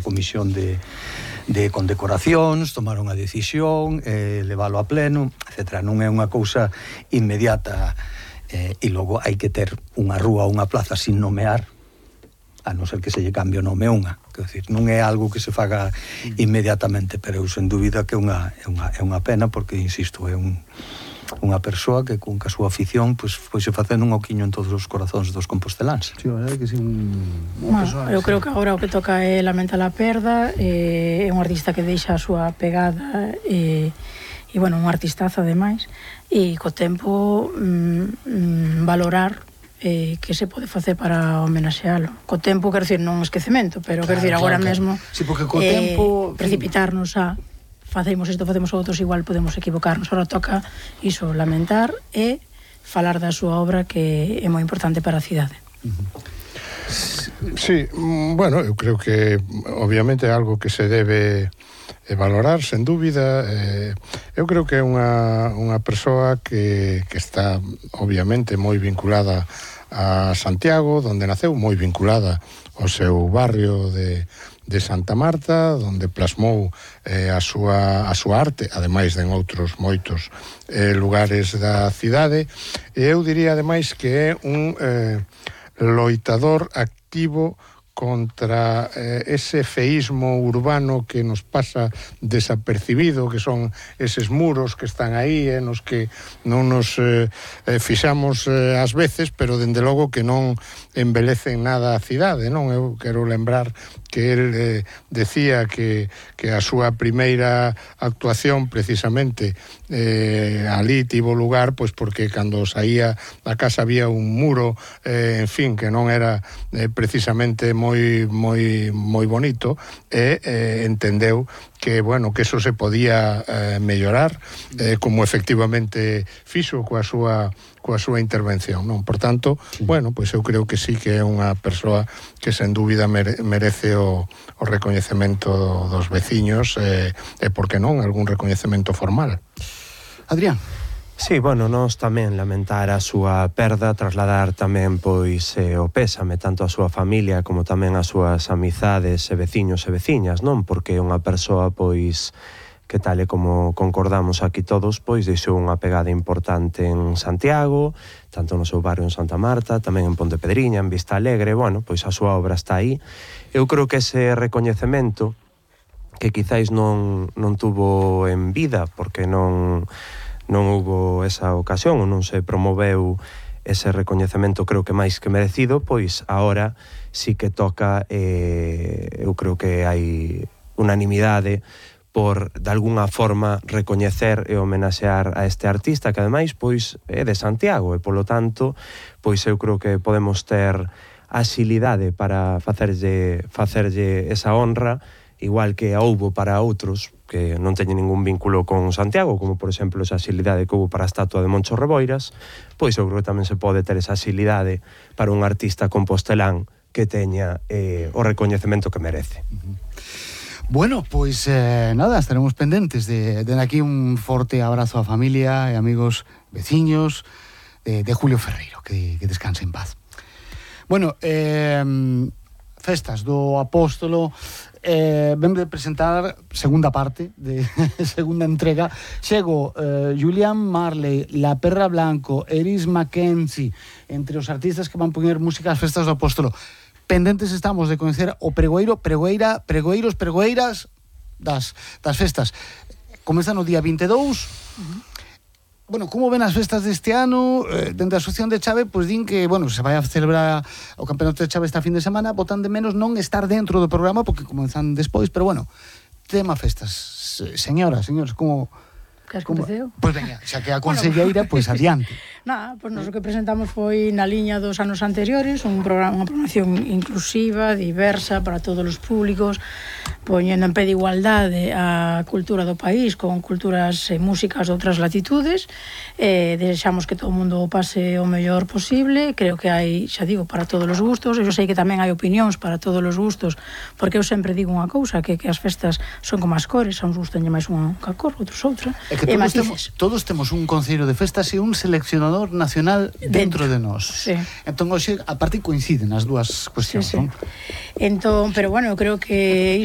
comisión de condecoracións, tomaron a decisión, leválo a pleno, etc. Non é unha cousa inmediata, e logo hai que ter unha rúa ou unha plaza sin nomear, a non ser que se lle cambie o nome a unha. Quer dizer, non é algo que se faga inmediatamente, pero eu sen dúbida que é unha pena, porque, insisto, é unha persoa que con a súa afición pois se facendo un oquiño en todos os corazóns dos composteláns. Sí, a verdade que sí, unha persoa... Eu creo que agora o que toca é lamentar a perda, é un artista que deixa a súa pegada, e bueno, un artistazo ademais, e co tempo valorar que se pode facer para homenaxealo. Co tempo, quero dicir, non esquecemento, pero quero dicir, agora mesmo sí, porque co tempo precipitarnos a facemos isto, facemos outros, igual podemos equivocarnos. Agora toca iso, lamentar e falar da súa obra, que é moi importante para a cidade. Sí, bueno, eu creo que obviamente é algo que se debe valorar, sen dúbida. Eu creo que é unha persoa que está obviamente moi vinculada a Santiago, donde naceu, moi vinculada ao seu barrio de Santa Marta, donde plasmou a súa arte, ademais de en outros moitos lugares da cidade. E eu diría ademais que é un loitador activo contra ese feísmo urbano que nos pasa desapercibido, que son eses muros que están aí, nos que non nos fixamos ás veces, pero dende logo que non embelecen nada a cidade, non? Eu quero lembrar que el decía que a súa primeira actuación precisamente ali tivo lugar pois porque cando saía da casa había un muro, en fin, que non era precisamente moi bonito, e entendeu que, bueno, que eso se podía mellorar, como efectivamente fixo coa súa intervención, non? Por tanto, bueno, pois eu creo que sí que é unha persoa que sen dúbida merece o recoñecemento dos veciños, e por que non, algún recoñecemento formal. Adrián. Sí, bueno, nós tamén lamentar a súa perda, trasladar tamén pois o pésame tanto a súa familia como tamén as súas amizades e veciños e veciñas, non? Porque é unha persoa pois que tal e como concordamos aquí todos, pois deixou unha pegada importante en Santiago, tanto no seu barrio en Santa Marta, tamén en Pontepedriña, en Vista Alegre. Bueno, pois a súa obra está aí. Eu creo que ese recoñecemento que quizáis non tuvo en vida, porque non houbo esa ocasión ou non se promoveu ese recoñecemento, creo que máis que merecido, pois agora sí que toca, eu creo que hai unanimidade por, de alguna forma, recoñecer e homenaxear a este artista que, ademais, pois, é de Santiago, e, polo tanto, pois eu creo que podemos ter axilidade para facerlle esa honra, igual que a houbo para outros que non teñen ningún vínculo con Santiago, como, por exemplo, esa axilidade que houbo para a estatua de Moncho Reboiras, pois eu creo que tamén se pode ter esa axilidade para un artista compostelán que teña o recoñecemento que merece. Bueno, pois nada, estaremos pendentes de aquí un forte abrazo á familia e amigos veciños de Julio Ferreiro, que descanse en paz. Bueno, festas do Apóstolo, ven de presentar segunda parte de segunda entrega. Chego Julián Marley, La Perra Blanco, Eris Mackenzie, entre os artistas que van poñer música ás festas do Apóstolo. Pendentes estamos de coñecer o pregoeiras das festas. Comeza no día 22. Bueno, como ven as festas deste ano? Dentro da Asociación de Chave, pois din que, bueno, se vai a celebrar o Campeonato de Chave esta fin de semana, botan de menos non estar dentro do programa, porque comenzan despois, pero bueno, tema festas. Señoras, como... Queres que empeceo? Pois venga, xa que a conselleira, pois adiante. Nada, pois nós o que presentamos foi na liña dos anos anteriores, unha programación inclusiva, diversa, para todos os públicos, poñendo en pé de igualdade a cultura do país con culturas e músicas de outras latitudes. Desexamos que todo o mundo pase o mellor posible. Creo que hai, xa digo, para todos os gustos. Eu sei que tamén hai opinións para todos os gustos, porque eu sempre digo unha cousa, que as festas son como as cores, a uns gustan máis unha cor, outros outra. É que todos temos un concello de festas e un seleccionador nacional dentro de nós. Sí. Entón, hoxe, a parte coinciden as dúas cuestións, sí, sí. Non? Entón, pero bueno, eu creo que iso